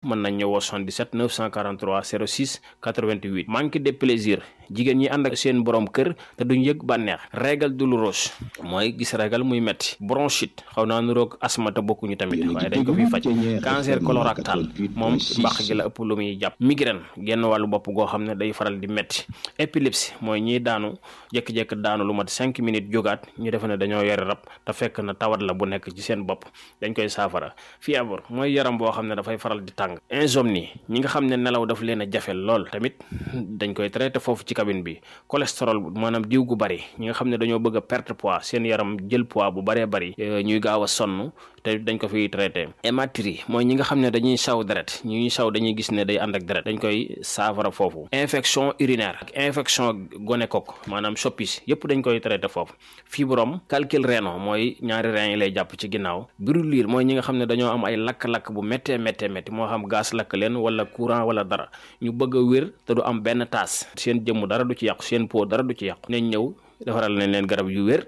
mën nañ ñëwoo 77 943 06 88. manque de plaisir jigéen ñi ànd ak seen borom kër te duñ yëg bànneex. règle douloureuse mooy gis règle muy metti. bronchite xaw naa nuroog asma te bokkuñu tamit waaye dañ ko fiy faj. cancer colorectal moom mbàq gi la ëpp lu muy jàpp. migraine genn wàllu bopp goo xam ne day faral di metti. épilepsie mooy ñiy daanu jékki-jékki daanu lu mat 5 minutes jógaat ñu defe ne dañoo yore rab te fekk na tawat la bu nekk ci seen bopp dañ koy saafara. fièvre mooy yaram boo xam ne dafay faral di tàng. insomnie ñi nga xam ne nelaw daf leen a jafe lool tamit dañ koy traité foofu ci cabine bi. cholestérol maanaam diw gu bari ñi nga xam ne dañoo bëgg a perte poids seen yaram jël poids bu baree bari ñuy gaaw a sonn te dañ ko fiy traité. hématurie mooy ñi nga xam ne dañuy saw deret ñuy saw dañuy gis ne day ànd ak deret dañ koy saafara foofu. infection urinaire ak infection gonocoque maanaam soppis yëpp dañ koy traité foofu. fibrome calcul rénal mooy ñaari rein yi lay jàpp ci ginnaaw. brûlure mooy ñi nga xam ne dañoo am ay lakk-lakk bu méttee métti moo xam gaz lakk leen wala courant wala dara ñu bëgg a wér te du am benn taas seen jëmm dara du ci yàqu seen peau dara du ci yàqu nañ ñëw defaral nañ leen garab yu wér.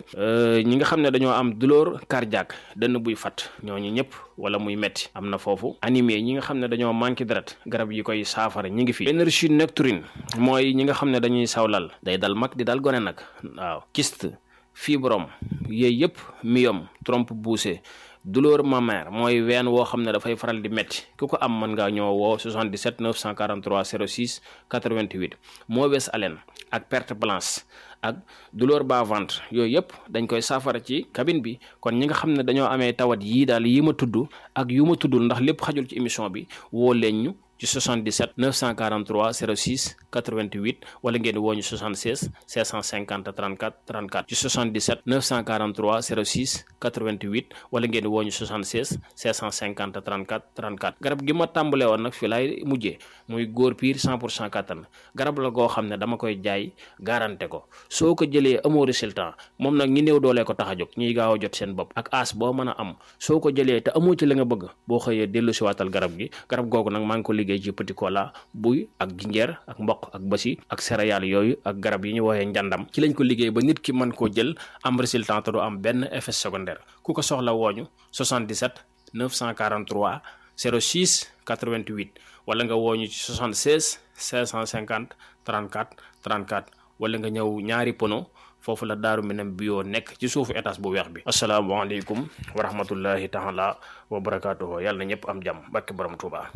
ñi nga xam ne dañoo am douleur cardiaque dënn buy fat ñooñu ñëpp wala muy metti am na foofu. anémie ñi nga xam ne dañoo manqué deret garab yi koy saafara ñi ngi fi. énergie nocturne mooy ñi nga xam ne dañuy sawlal day dal mag di dal gone nag waaw. kyste fibrome yooyu yëpp myome trompe poussée. douleur mammaire mooy ween woo xam ne dafay faral di metti ku ko am mën ngaa ñoo woo 77 943 06 88. mauvaise haleine ak perte blanche ak douleur bas ventre yooyu yëpp dañ koy saafara ci cabine bi. kon ñi nga xam ne dañoo amee tawat yii daal yi ma tudd ak yu ma tuddul ndax lépp xajul ci émission bi woo leen ñu ci 77 943 06 88 wala ngeen woo ñu 76 550 34 34 ci 77 943 06 88 wala ngeen woo ñu 76 550 34 34. garab gi ma tàmbalee woon nag fii laay mujjee muy góor piir 100% kattan garab la goo xam ne dama koy jaay garanté ko soo ko jëlee amoo résultat moom nag ñi néew doolee ko tax a jóg ñuy gaaw a jot seen bopp ak as boo mën a am soo ko jëlee te amoo ci la nga bëgg boo xëyee dellu si waatal garab gi. garab googu nag maa ngi ko liggéey ci petit cola buy ak jinjeer ak mboq ak basi ak céréales yooyu ak garab yi ñu woowee njàndam ci lañ ko liggéey ba nit ki mën koo jël am résultat te du am benn effet secondaire. ku ko soxla wooñu 77 943 06 88 wala nga wooñu ci 76 550 34 34 wala nga ñëw ñaari pono foofu la Daaru Minam bio nekk ci suufu étage bu weex bi. asalaamaaleykum wa rahmatullahi taala wa barakaatuhu yàlla na ñëpp am jàmm barke borom Tuuba.